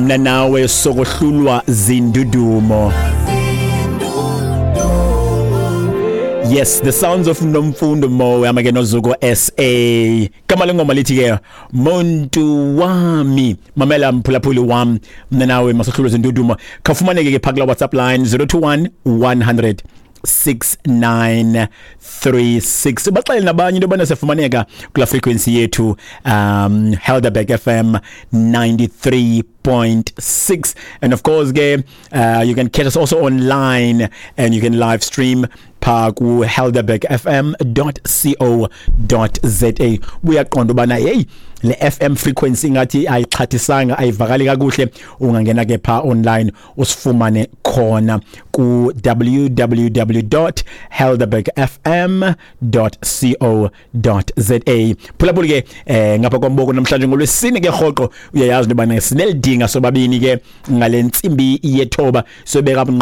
Mna nawe sokohlulwa zindudumo. Yes, the sounds of Nomfundo Mo amake noZuko SA. Gama lengoma lithi ke Muntu wami. Mamela mphulaphuli wam, mna nawe masohlulwe zindudumo. Khafumaneke ke phakula WhatsApp line 021 100 6936. Baxelele nabanye into yobana siyafumaneka kula frequency yethu, Helderberg FM 93.6, and of course ke you can catch us also online and you can live stream pha ku helderbergfm.co.za. Uyaqonda ubana hey, le FM frequency ngathi ayixhathisanga, ayivakali kakuhle, ungangena ke pha online usifumane khona ku www.helderbergfm.co.za. Phulaphula ke, ngapha kwamboko namhlanje ngolwesine ke rhoqo uyayazi into yobana sinelidinga sobabini ke ngale ntsimbi yethoba sobeka.